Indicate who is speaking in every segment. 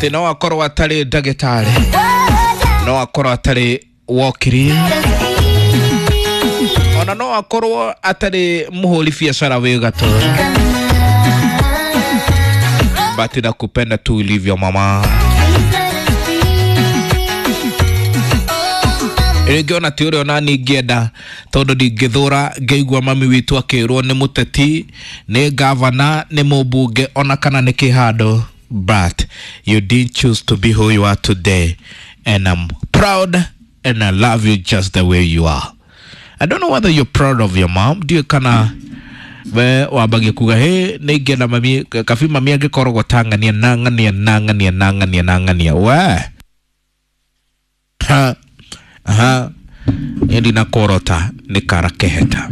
Speaker 1: Atĩ no akorwo atarĩ ndagĩtarĩ, no akorwo atarĩ wokiri, ona no akorwo atarĩ mũhũri biacara wĩ gatũ, but nakupenda tu ulivyo mama. Rĩngĩ ona ti ũrĩa ona niĩ ingĩenda, tondũ ndingĩthũra ngĩigua mami witũ akĩrwo nĩ mũteti, nĩ gavana, nĩ mũmbunge, ona kana nĩ kĩhandũ, but you didn't choose to be who you are today, and I'm proud and I love you just the way you are. I don't know whether you're proud of your mom. Ndiũĩ kana we wambagia kuga hĩ nĩ ingĩenda mami kabi mami angĩkoragwo ta ng'ania na ng'ania na ng'ania na ng'ania na ng'ania we ha aha niĩ ndinakorota nĩ kara keheta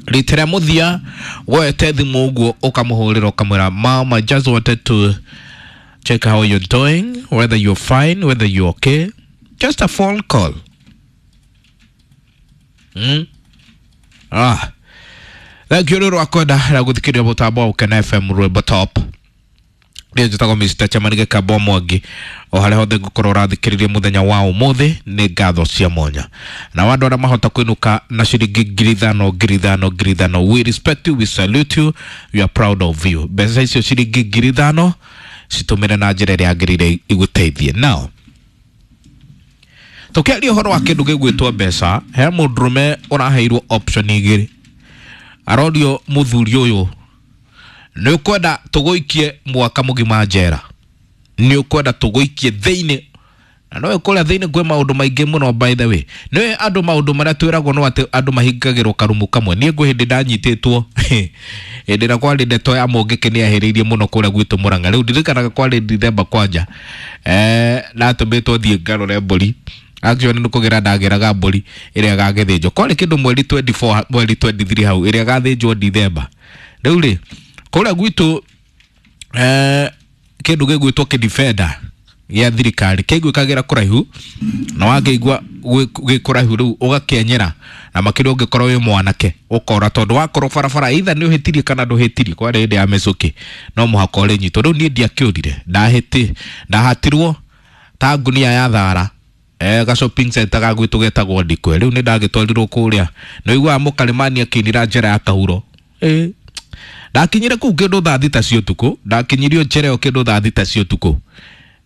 Speaker 1: rita rĩa mũthia woete thimũ ũguo ũkamũhũrĩra ũkamwĩra, "Mom, I just wanted to check how you're doing, whether you're fine, whether you're okay, just a phone call." Ah, thank you rä rwakwenda rĩa gũthikĩrĩria mũtambo wa Ũkena FM rwĩmbo top. Niĩ njĩtagwo Mr. Chairman Gĩkamba Mwangi. O harĩa hothe ngũkorwo ũrathikĩrĩria mũthenya wa ũmũthĩ, nĩ ngatho cia mwanya na andũ arĩa mahota kũinũka na ciringi 5,000, 5,000, 5,000, we respect you, we salute you, we are proud of you. Mbeca icio ciringi 5,000 citũmĩre na njĩra ĩrĩa yagĩrĩire igũteithie. Now tũkĩaria ũhoro wa kĩndũ gĩgwĩtwo mbeca, he mũndũrũme ũraheirwo option igĩrĩ. Arorio, mũthuri ũyũ, nĩ ũkwenda tũgũikie mwaka mũgima njera, nĩ ũkwenda tũgũikie thĩinĩ? Na no kũrĩa thĩinĩ kwĩ maũndũ maingĩ mũno. By the way, nĩ andũ maũndũ marĩa twĩragwo no atĩ andũ mahingagĩrwo karumu kamwe. Niĩ gwĩ hĩndĩ ndanyitĩtwo, hĩndĩ ĩrĩa kwarĩ ndeto ya mũngĩkĩ nĩ ahĩrĩirie mũno kũrĩa gwitũ Mũrang'a. Rĩu ndirikanaga kwarĩ Dithemba kwanja, ndatũmĩtwo thiĩ ngarore mbũri. Actually nĩ kũgĩra ndagĩraga mbũri ĩrĩa ĩgagĩthĩnjwo, kwarĩ kĩndũ mweri 24, mweri 23 hau, ĩrĩa ĩgathĩnjwo Dithemba. Rĩu rĩ kũrĩa gwitũ, kĩndũ gĩgwĩtwo kĩdifenda gĩa thirikari kĩiguĩkagĩra kũraihu, na wakĩigua gĩ kũraihu rĩu ũgakĩenyera, na makĩria ũngĩkorwo wĩ mwanake ũkora, tondũ wakorwo barabara either nĩ ũhĩtirie kana ndũhĩtirie, kwarĩ hĩndĩ ya mĩcũkĩ, no mũhaka ũrĩnyitwo. Rĩu niĩ ndiakĩũrire, ndahĩti ndahatirwo ta ngunia ya thara ga shopping center ga gwitũ getagwo Ndikwe. Rĩu nĩ ndagĩtwarirwo kũrĩa nĩ ũiguaga mũkarimani akĩinĩra njĩra ya kahuro. Ndakinyire kũu kĩndũ thaa 6 cia ũtukũ, ndakinyirio njĩra ĩyo kĩndũ thaa 6 cia ũtukũ.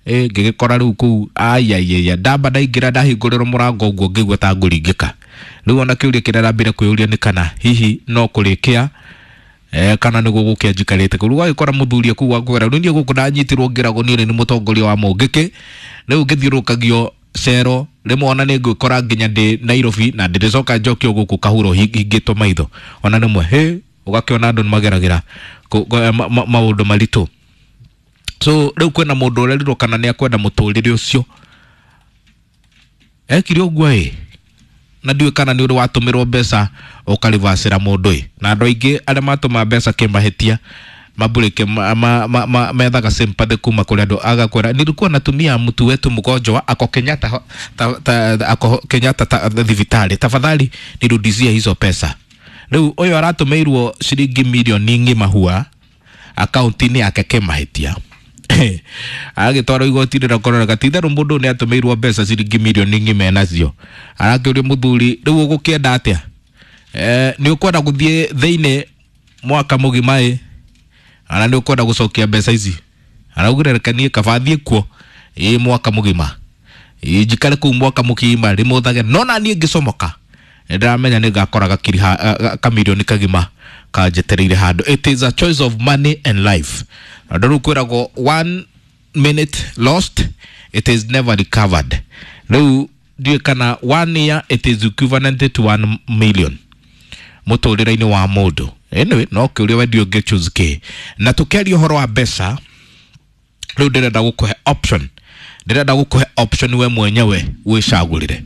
Speaker 1: Ngĩgĩkora rĩu kũu aiaiaia, ndamba ndaingĩra, ndahingũrĩrwo mũrango ũguo ngĩigua ta ngũringĩka. Rĩu ona kĩũria kĩrĩa ndambire kwĩyũria nĩ kana hihi no kũrĩkia kana nĩ gũgũkĩa njikarĩte kũu. Rĩu wagĩkora mũthuri kũu akwĩra, rĩu niĩ gũkũ ndanyitirwo ngĩragwo niĩ nĩ mũtongoria wa mũngĩkĩ, rĩu ngĩthiũrũrũkagio cero rĩmwe ona nĩ ngwĩkora nginya ndĩ Nairobi na ndĩrĩcoka njokio gũkũ kahuro hingĩtwo maitho. Ona rĩmwe hĩ ũgakĩona andũ nĩ mageragĩra maũndũ maritũ. So rĩu kwĩna mũndũ ũrerirwo kana nĩ akwenda mũtũrĩre ũcio ekire ũguo ĩ, na ndiũĩ kana nĩ ũrĩ watũmĩrwo mbeca ũkarivacĩra mũndũ ĩ. Na andũ aingĩ arĩa matũma mbeca kĩmahĩtia mabulike ma methaga sympathy kuma kũrĩ andũ, agakwĩra, "Nilikuwa natumia mtu wetu mgonjwa, ako Kenyatta, ako Kenyatta thibitarĩ, tafadhali nirudishie hizo pesa." Rĩu ũyũ aratũmĩirwo ciringi milioni ng'ima hua akaunti-inĩ yake kĩmahĩtia, agĩtwarwo igoti-inĩ na kũrora ti-itherũ mũndũ ũyũ nĩ atũmĩirwo mbeca ciringi milioni ng'ima enacio. Arakĩũria mũthuri, rĩu ũgũkĩenda atĩa? Nĩ ũkwenda gũthiĩ thĩinĩ mwaka mũgima ĩ, ana nĩ ũkwenda gũcokia mbeca ici? Araugire, reke niĩ kaba thiĩ kuo ĩ mwaka mũgima, ĩ njikare kũu mwaka mũgima rĩmũthage, no na niĩ ngĩcomoka nĩ ndĩramenya nĩ ngakora gakiri kamirioni kagima kanjetereire handũ. It is a choice of money and life. Na rĩu kwĩragwo one minute lost, it is never recovered. Rĩu ndiũĩ kana one year it is equivalent to 1 million mũtũrĩre-inĩ wa mũndũ. Anyway, no kĩũria we ndiũ ũngĩ choose kĩ. Na tũkĩaria ũhoro wa mbeca, rĩu ndĩrenda gũkũhe option, ndĩrenda gũkũhe option we mwenyewe wĩcagũrĩre.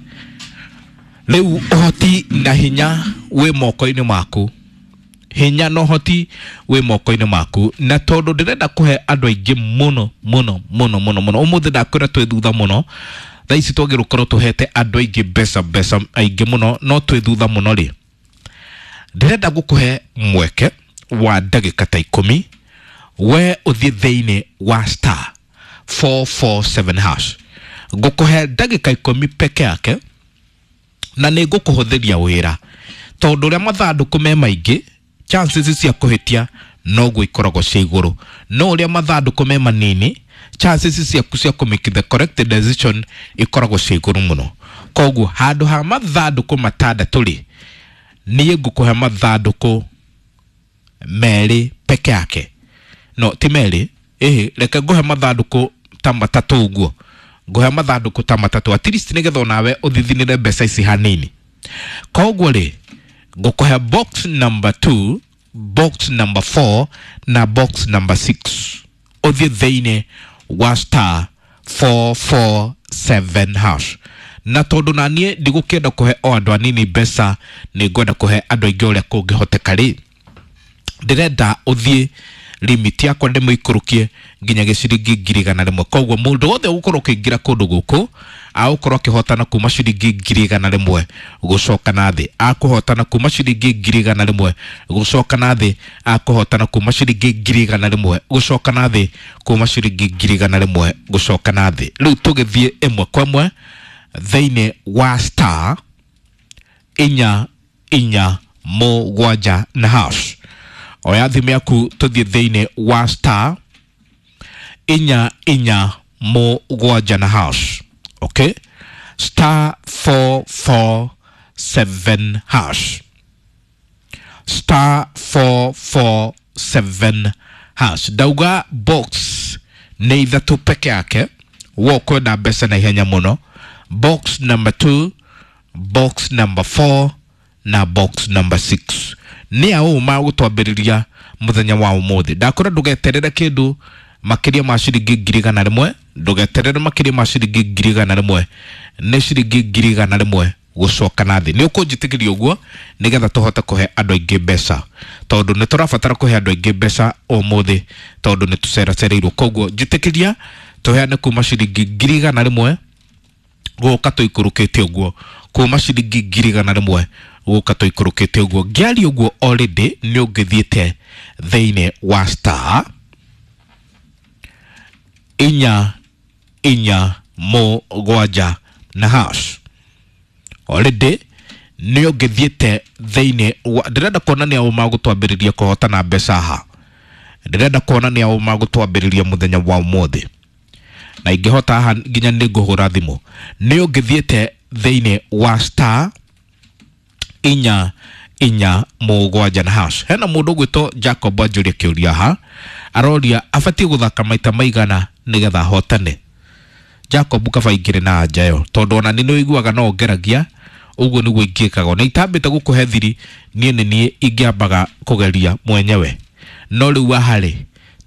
Speaker 1: Rĩu ũhoti na hinya wĩ moko-inĩ maku, hinya na ũhoti wĩ moko-inĩ maku. Na tondũ ndĩrenda kũhe andũ aingĩ mũno mũno mũno mũno mũno ũmũthĩ, ndakwĩra twĩ thutha mũno. Thaa ici twagĩrĩirwo gũkorwo tũhete andũ aingĩ mbeca, mbeca aingĩ mũno, no twĩ thutha mũno rĩ. Ndĩrenda gũkũhe mweke wa ndagĩka ta 10, we ũthiĩ thĩinĩ wa star 447 hash. Ngũkũhe ndagĩka 10 peke yake na nĩ ngũkũhũthĩria wĩra tondũ ũrĩa mathandũkũ me maingĩ chances cia kũhĩtia noguo ikoragwo cia igũrũ, no ũrĩa mathandũkũ me manini chances ciaku cia kũ make the correct decision ikoragwo cia igũrũ mũno. Koguo handũ ha mathandũkũ matandatũ rĩ, niĩ ngũkũhe mathandũkũ 2 peke yake. No ti 2, ĩhĩ, reke ngũhe mathandũkũ ta 3 ũguo, ngũhe mathandũkũ ta 3 at least nĩgetha onawe ũthithinĩre mbeca ici hanini. Koguo rĩ, ngũkũhe box number 2, box number 4 na box number 6. Ũthiĩ thĩinĩ wa star 447 hash. Na tondũ na niĩ ndigũkĩenda kũhe o andũ anini mbeca, nĩ ngwenda kũhe andũ aingĩ ũrĩa kũngĩhoteka rĩ, ndĩrenda ũthiĩ limit yakwa ndĩmĩikũrũkie nginya gĩciringi 100,000. Koguo mũndũ wothe ũgũkorwo ũkĩingĩra kũndũ gũkũ agũkorwo akĩhotana kuma ciringi 100,000 gũcoka na thĩ, akũhotana kuma ciringi 100,000 gũcoka na thĩ, akũhotana kuma ciringi 100,000 gũcoka na thĩ, kuma ciringi 100,000 gũcoka na thĩ. Rĩu tũgĩthiĩ ĩmwe kwa ĩmwe thĩinĩ wa star 4 4 7 na hash. Oya thimũ yaku tũthiĩ thĩinĩ wa star 4 4 7 na hash. Okay, star 447 hash, star 447 hash. Ndauga box nĩ 3 peke yake, wo kwenda mbeca na ihenya mũno. Box number 2, box number 4 na box number 6. Nĩ aũ magũtwambĩrĩria mũthenya wa ũmũthĩ. Ndakũra ndũgeterere kĩndũ makĩria ma ciringi 100,000, ndũgeterere makĩria ma ciringi 100,000, nĩ ciringi 100,000 gũcoka na thĩ. Nĩ ũkũnjĩtĩkĩria ũguo nĩgetha tũhote kũhe andũ aingĩ mbeca, tondũ nĩ tũrabatara kũhe andũ aingĩ mbeca ũmũthĩ tondũ nĩ tũceracereirwo. Koguo njĩtĩkĩria tũheane kuma ciringi 100,000 gũka tũikũrũkĩte ũguo, kuma ciringi 100,000 gũka tũikũrũkĩte ũguo. Ngĩaria ũguo already nĩ ũngĩthiĩte thĩinĩ wa star 4 4 7 na hash. Already nĩ ũngĩthiĩte thĩinĩ wa, ndĩrenda kuona nĩ aũ magũtwambĩrĩria kũhotana mbeca haha, ndĩrenda kuona nĩ aũ magũtwambĩrĩria mũthenya wa ũmũthĩ, na ingĩhota haha nginya nĩ ngũhũra thimũ. Nĩ ũngĩthiĩte thĩinĩ wa star 4 4 7 na hash. Hena mũndũ ũgwĩtwo Jacob anjũria kĩũria haha, aroria abatiĩ gũthaka maita maigana nĩgetha ahotane. Jacob kaba ingĩrĩ na anja ĩyo tondũ ona nĩ ũiguaga no ngeragia ũguo nĩguo ingĩkaga, na itambĩte gũkũhe thiri niĩ nĩ niĩ ingĩambaga kũgeria mwenyewe. No rĩu haha rĩ,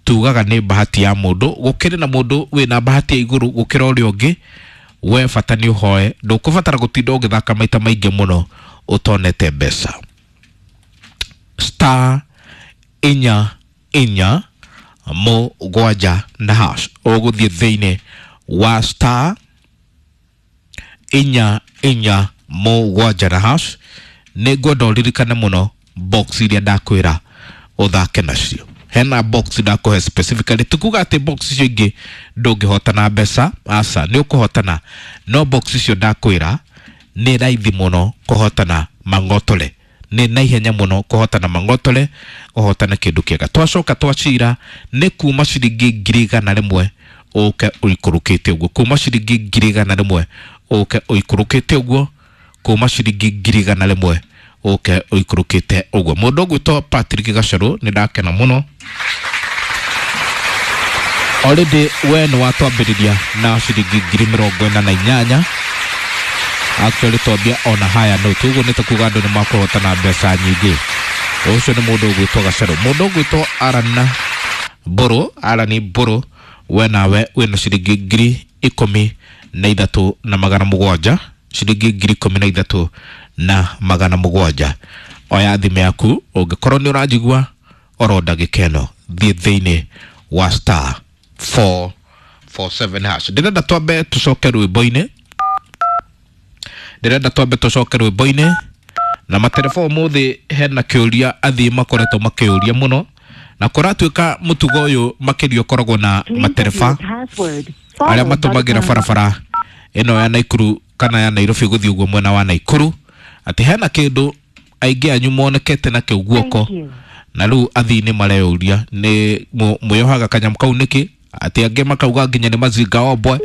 Speaker 1: tugaga nĩ bahati ya mũndũ, gũkĩrĩ na mũndũ wĩna bahati ya igũrũ gũkĩra ũrĩa ũngĩ. We bata nĩ ũhoe, ndũkũbatara gũtinda ũgĩthaka maita maingĩ mũno ũtonete mbeca. Star 4 4 7 na hash. Ũgũthiĩ thĩinĩ wa star 4 4 7 na hash. Nĩ ngwenda ũririkane mũno box iria ndakwĩra ũthake nacio. Hena box ndakũhe specifically, tukuga atĩ box icio ingĩ ndũngĩhotana mbeca, aca nĩ ũkũhotana, no box icio ndakwĩra nĩ raithi mũno kũhotana mang'otore, nĩ naihenya mũno kũhotana mang'otore, ũhotane kĩndũ kĩega. Twacoka twacira nĩ kuma ciringi 100,000 ũke ũikũrũkĩte ũguo, kuma ciringi 100,000 ũke ũikũrũkĩte ũguo, kuma ciringi 100,000 ũke ũikũrũkĩte ũguo. Mũndũ ũgwĩtwo Patrick Gacerũ, nĩ ndakena mũno already we nĩ watwambĩrĩria na ciringi 48,000. Actually twambia ona haya note ũguo nĩ ta kuga andũ nĩ makũhotana mbeca nyingĩ. Ũcio nĩ mũndũ ũgwĩtwo Gacerũ. Mũndũ ũgwĩtwo Aran Mbũrũ, Aran Mbũrũ, we nawe wĩna ciringi 13,700, ciringi 13,700. Oya thimũ yaku ũngĩkorwo nĩ ũranjigua oro ndagĩka ĩno, thiĩ thĩinĩ wa star 447 hash. Ndĩrenda twambe tũcoke rwĩmbo-inĩ, ndĩrenda twambe tũcoke rwĩmbo-inĩ na matereba ũmũthĩ hena kĩũria athiĩ makoretwo makĩũria mũno, na kũratuĩka mũtugo ũyũ makĩria ũkoragwo na matereba. Arĩa matũmagĩra barabara ĩno ya Naikuru kana ya Nairobi gũthiĩ ũguo mwena wa Naikuru, atĩ hena kĩndũ aingĩ anyu monekete nakĩo guoko na rĩu athii nĩ mareyũria nĩ mwĩyohaga kanyamũ kau nĩkĩ, atĩ angĩ makauga nginya nĩ mazinga ombwe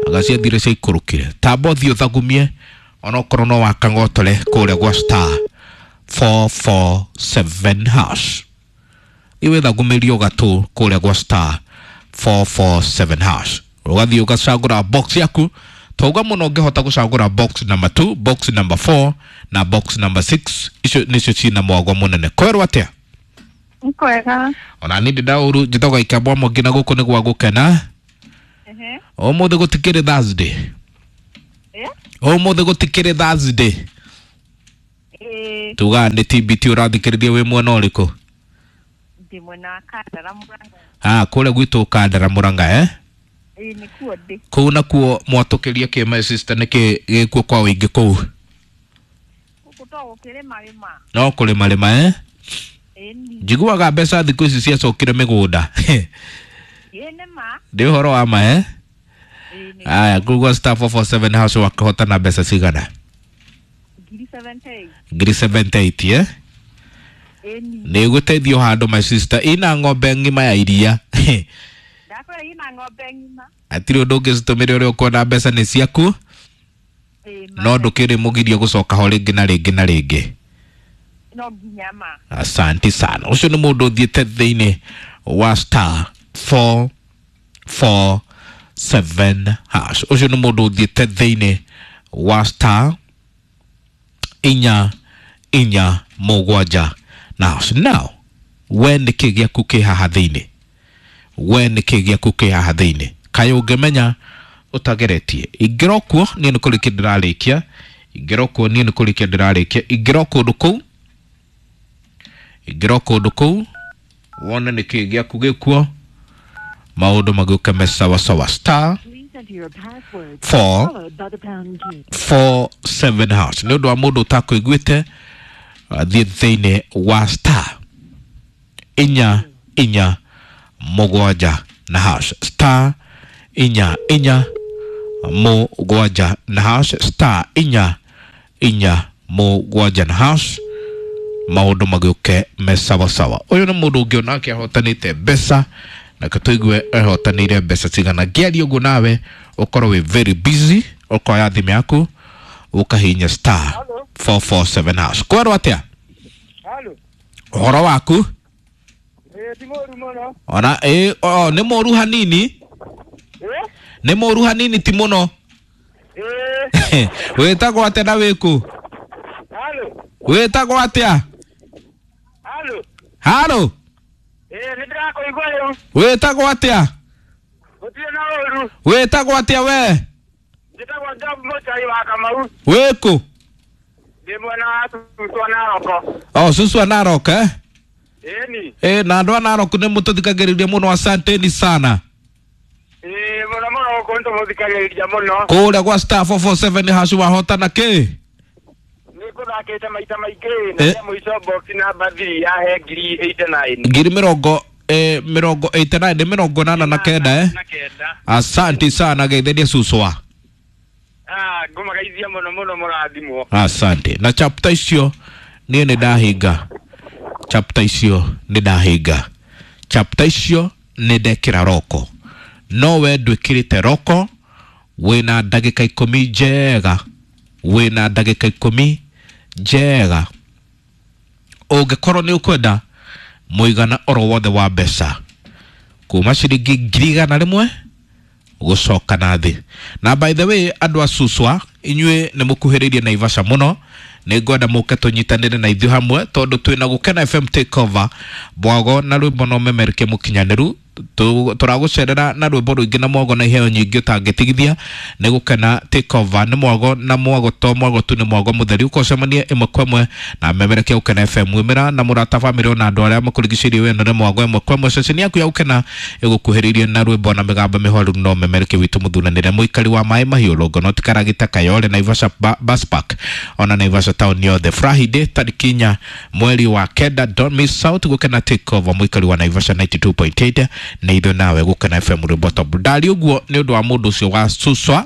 Speaker 1: anga ciathire ciaikũrũkire. Tamba ũthiĩ ũthagumie onokorwo no wakang'otore kũrĩa gwa star 447 hash, iwĩthagumĩrio gatũ kũrĩa gwa star 447 hash, ũgathiĩ ũgacagũra box yaku. Twauga mũno ũngĩhota gũcagũra box number 2, box number 4 na box number 6, icio nĩcio ciĩna mwago mũnene. Kwerwo atĩa?
Speaker 2: Kwega.
Speaker 1: Ona niĩ ndĩ ndaũru, njĩtagwo Ikambwa Mwangi na gũkũ nĩ gwa gũkena. Ũmũthĩ gũtikĩrĩ Thursday. Ũmũthĩ gũtikĩrĩ Thursday. Tugaga nĩ TBT. Ũrathikĩrĩria wĩ mwena ũrĩkũ?
Speaker 2: Ndĩ mwena wa Kandara, Murang'a.
Speaker 1: Ah, kũrĩa gwitũ Kandara, Murang'a, eh?
Speaker 2: Ĩĩ, nĩkuo ndĩ.
Speaker 1: Kũu nakuo mwatũkĩria kĩ, my sister? Nĩkĩ gĩkuo kwa ũingĩ kũu?
Speaker 2: Gũkũ to gũkĩrĩma rĩma.
Speaker 1: No kũrĩma rĩma, eh?
Speaker 2: Ĩni.
Speaker 1: Njiguaga mbeca thikũ ici ciacokire mĩgũnda.
Speaker 2: Ĩĩ, nĩ ma.
Speaker 1: Ndĩ ũhoro wa ma, eh?
Speaker 2: Ĩĩ, nĩ.
Speaker 1: Aya, kũu gwa star 447 hash wakĩhotana mbeca cigana?
Speaker 2: Ngiri 78.
Speaker 1: Ngiri 78, eh?
Speaker 2: Ĩni.
Speaker 1: Nĩ gũteithio handũ, my sister, ina ng'ombe ng'ima ya iria.
Speaker 2: Ndakwĩra ina ng'ombe ng'ima.
Speaker 1: Hatirĩ ũndũ ũngĩcitũmĩra ũrĩa ũkuona mbeca nĩ ciaku.
Speaker 2: Ĩĩ ma.
Speaker 1: No ndũkĩrĩ mũgirio gũcoka ho rĩngĩ na rĩngĩ na rĩngĩ.
Speaker 2: No nginya ma.
Speaker 1: Asante sana. Ũcio nĩ mũndũ ũthiĩte thĩinĩ wa star 447 hash. Ũcio nĩ mũndũ ũthiĩte thĩinĩ wa star 447 na hash. Now we nĩkĩ gĩaku kĩ haha thĩinĩ? We nĩkĩ gĩaku kĩ haha thĩinĩ? Kaĩ ũngĩmenya ũtageretie? Ingĩra kuo niĩ nĩ kũrĩkia ndĩrarĩkia. Ingĩra kuo niĩ nĩ kũrĩkia ndĩrarĩkia. Ingĩra kũndũ kũu, ingĩra kũndũ kũu wone nĩkĩ gĩaku gĩkuo, maũndũ magĩũke me sawasawa. Star 4 4 7 hash. Nĩ ũndũ wa mũndũ ũtakũiguĩte, athiĩ thĩinĩ wa star 447 na hash, star 447 na hash, star 447 na hash, maũndũ magĩũke me sawasawa. Ũyũ nĩ mũndũ ũngĩ onake ahotanĩte mbeca, na tũigue ahotanĩire mbeca cigana. Ngĩaria ũguo nawe ũkorwo wĩ very busy, ũkoya thimũ yaku ũkahihinya star 447 hash. Kwerwo atĩa?
Speaker 3: Halo.
Speaker 1: Ũhoro waku?
Speaker 3: Ĩĩ, ti mũru mũno.
Speaker 1: Ona ĩ o nĩ mũru hanini.
Speaker 3: Ĩ?
Speaker 1: Nĩ mũru hanini, ti mũno.
Speaker 3: Ĩ.
Speaker 1: Wĩtagwo atĩa na wĩkũ?
Speaker 3: Halo.
Speaker 1: Wĩtagwo atĩa?
Speaker 3: Halo.
Speaker 1: Halo.
Speaker 3: Ĩ, nĩ ndĩrakũigua rĩu.
Speaker 1: Wĩtagwo atĩa?
Speaker 3: Gũtirĩ na ũru.
Speaker 1: Wĩtagwo atĩa we?
Speaker 3: Njĩtagwo Job Mũchai wa Kamau.
Speaker 1: Wĩkũ?
Speaker 3: Ndĩ mwena wa Suswa Narok.
Speaker 1: O Suswa Narok, eh?
Speaker 3: Ĩni.
Speaker 1: Ĩ, na andũ a Narok nĩ mũtũthikagĩrĩria mũno, asanteni sana.
Speaker 3: Ĩ, mũno mũno gũkũ nĩ tũmũthikagĩrĩria mũno.
Speaker 1: Kũrĩa gwa star 447 hash wahotana kĩ?
Speaker 3: Nĩ ngũthakĩte maita maingĩ na
Speaker 1: Eh.
Speaker 3: cia mũico box number 3 yahe ngiri 89.
Speaker 1: Ngiri mĩrongo 89, nĩ 89, eh?
Speaker 3: Na kenda.
Speaker 1: Asante sana, geithĩria Suswa.
Speaker 3: Ah, ngũmagaithia mũno mũno, mũrathimwo.
Speaker 1: Asante. Na chapter icio niĩ nĩ ndahinga, chapter icio nĩ ndahinga, chapter icio nĩ ndekĩra roko. No we ndwĩkĩrĩte roko, wĩna ndagĩka 10 njega, wĩna ndagĩka 10 njega. Ũngĩkorwo nĩ ũkwenda mũigana oro wothe wa mbeca kuma ciringi 100,000 gũcoka na thĩ. Na by the way, andũ a Suswa, inyuĩ nĩ mũkuhĩrĩirie Naivasha mũno, nĩ ngwenda mũke tũnyitanĩre na ithuĩ hamwe, tondũ twĩna Gũkena FM Takeover, mwago na rwĩmbo no memereke mũkinyanĩru. Tũragũcerera na rwĩmbo rũingĩ na mwago na iheo nyingĩ ũtangĩtigithia. Nĩ Gũkena Takeover, nĩ mwago na mwago, to mwago tu, nĩ mwago mũtheri. Ũkocemania ĩmwe kwa ĩmwe na memereke Gũkena FM, wĩmĩra na mũrata, bamĩrĩ ona andũ arĩa makũrigicĩirie. Wendo nĩ mwago ĩmwe kwa ĩmwe. Ceceni yaku ya Gũkena ĩgũkuhĩrĩirie na rwĩmbo na mĩgambo mĩhoru no memereke witũ mũthuranĩre, mũikari wa maĩ mahiũ, Longonot, Karagita, Kayole, Naivasha Bus Park ona Naivasha town yothe. Friday tarĩki 4 mweri wa 9, don't miss out, Gũkena Takeover, mũikari wa Naivasha 92.8. Nĩ ithuĩ nawe Gũkena FM rwĩmbo top. Ndari ũguo nĩ ũndũ wa mũndũ ũcio wa Suswa.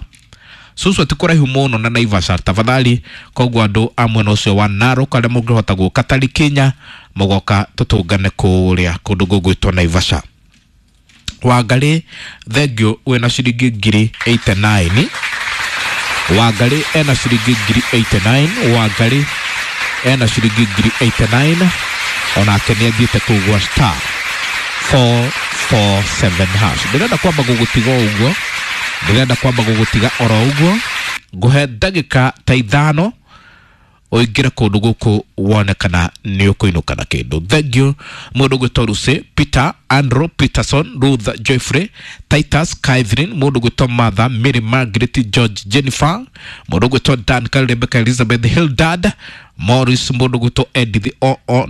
Speaker 1: Suswa ti kũraihu mũno na Naivasha, tafadhali. Koguo andũ a mwena ũcio wa Narok arĩa mũngĩhota gũka tarĩki 4 mũgoka tũtũngane kũrĩa kũndũ gũgwĩtwo Naivasha. Wangarĩ, thengio, wĩna ciringi 89,000. Wangarĩ ena ciringi 89,000. Wangarĩ ena ciringi 89,000, onake nĩ athiĩte kũu gwa star 447 hash. Ndĩrenda kwamba gũgũtiga o ũguo, ndĩrenda kwamba gũgũtiga oro ũguo, ngũhe ndagĩka ta 5 ũingĩre kũndũ gũkũ wone kana nĩ ũkũinũka na kĩndũ. Thank you mũndũ gwĩtwo Lucy, Peter, Andrew, Peterson, Ruth, Jeffrey, Titus, Catherine, mũndũ gwĩtwo Martha, Mary, Margaret, George, Jennifer, mũndũ gwĩtwo Duncan, Rebecca, Elizabeth, Hildad, Morris, mũndũ gwĩtwo Edith,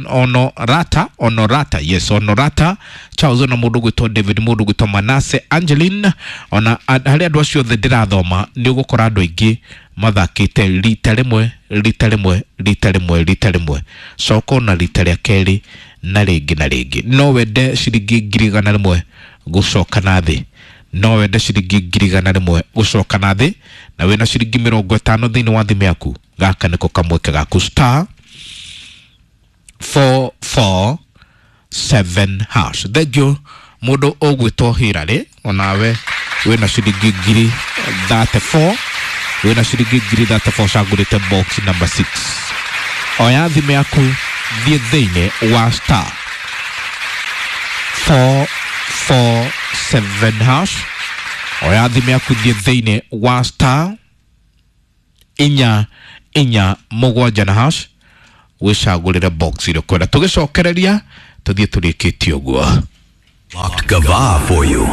Speaker 1: Honorata, Honorata, yes, Honorata, Charles, na mũndũ gwĩtwo David, mũndũ gwĩtwo Manase, Angeline, ona harĩ andũ acio othe ndĩrathoma nĩ ũgũkora andũ aingĩ mathakĩte rita rĩmwe, rita rĩmwe, rita rĩmwe, rita rĩmwe, coka ona rita rĩa kerĩ na rĩngĩ na rĩngĩ. No wende ciringi 100,000 gũcoka na thĩ, no wende ciringi 100,000 gũcoka na thĩ, na wĩna ciringi 50 thĩinĩ wa thimũ yaku, gaka nĩko kamweke gaku, star 447 hash. Thank you mũndũ ũgwĩtwo Hillary, onawe wĩna ciringi 34,000, wĩna ciringi 34,000, cagũrĩte box number 6. Oya thimũ yaku, thiĩ thĩinĩ wa star 447 hash. Oya thimũ yaku, thiĩ thĩinĩ wa star 447 na hash, wĩcagũrĩre box ĩrĩa ũkwenda. Tũgĩcokereria tũthiĩ tũrĩkĩtie ũguo.
Speaker 4: Locked Gava for you.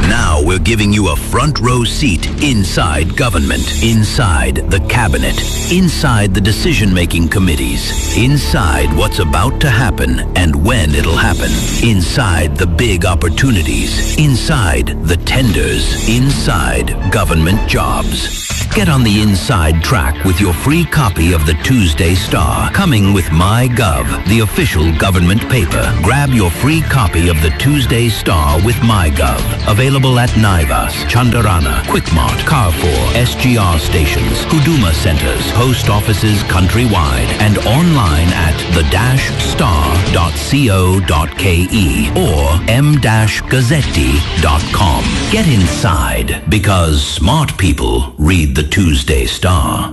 Speaker 4: Now we're giving you a front row seat inside government, inside the cabinet, inside the decision-making committees, inside what's about to happen and when it'll happen, inside the big opportunities, inside the tenders, inside government jobs. Get on the inside track with your free copy of the Tuesday Star, coming with MyGov, the official government paper. Grab your free copy of the Tuesday Star with MyGov. Available at Naivas, Chandarana, Quickmart, Carrefour, SGR stations, Huduma centers, post offices countrywide, and online at the-star.co.ke or m-gazzetti.com. Get inside, because smart people read the Tuesday Star.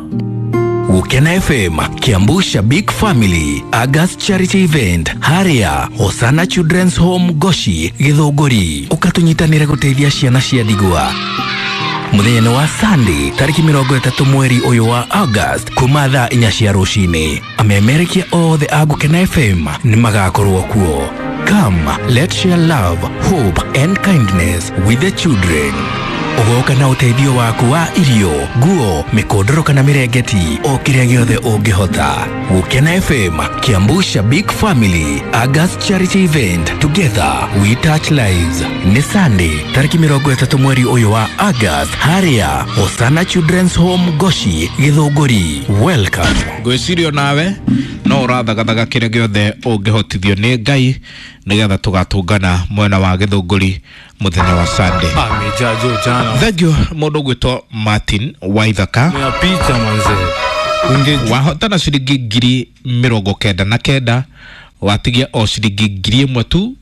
Speaker 5: Gukena FM, Kiambu Shabik Family, August Charity Event, Haria, Hosana Children's Home Goshi, Githũngũri. Ũkatunyitanĩre gũteithia ciana cia ndigwa. Mũthenya wa Sunday tarĩki 30 mweri ũyũ wa August kuma thaa 4 cia rũcinĩ, amemerekia othe a Gũkena FM nĩ magakorwo kuo. Come, let's share love, hope and kindness with the children. Ũgoka na ũteithio waku wa irio, nguo, mĩkondoro kana mĩrengeti, o kĩrĩa gĩothe ũngĩhota. Gũkena FM, Kiambu Shabik Family, August Charity Event, together we touch lives. Nĩ Sunday tarĩki 30 mweri ũyũ wa August, harĩa Hosana Children's Home Goshi, Gĩthũngũri. Welcome.
Speaker 1: Ngwĩciria nawe no ũrathagathaga kĩrĩa gĩothe ũngĩhotithio nĩ Ngai nĩgetha tũgatũngana mwena wa Gĩthũngũri mũthenya wa Sunday.
Speaker 6: Amejajo jana.
Speaker 1: Thank you mũndũ ũgwĩtwo Martin Waithaka.
Speaker 6: Ya picha manze. Unge
Speaker 1: wahotana ciringi 99,000, watigia o ciringi 1,000 tu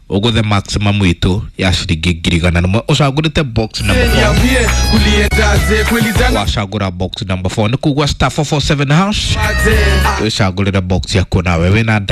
Speaker 1: ũgũthe maximum witũ ya ciringi 100,000. Ũcagũrĩte box number 4.
Speaker 7: Niambie uliendaje kweli jana
Speaker 1: Wacagũra box number 4 nĩ kugua star 447 hash,
Speaker 7: aje.
Speaker 1: wĩcagũrĩre box yaku nawe wĩna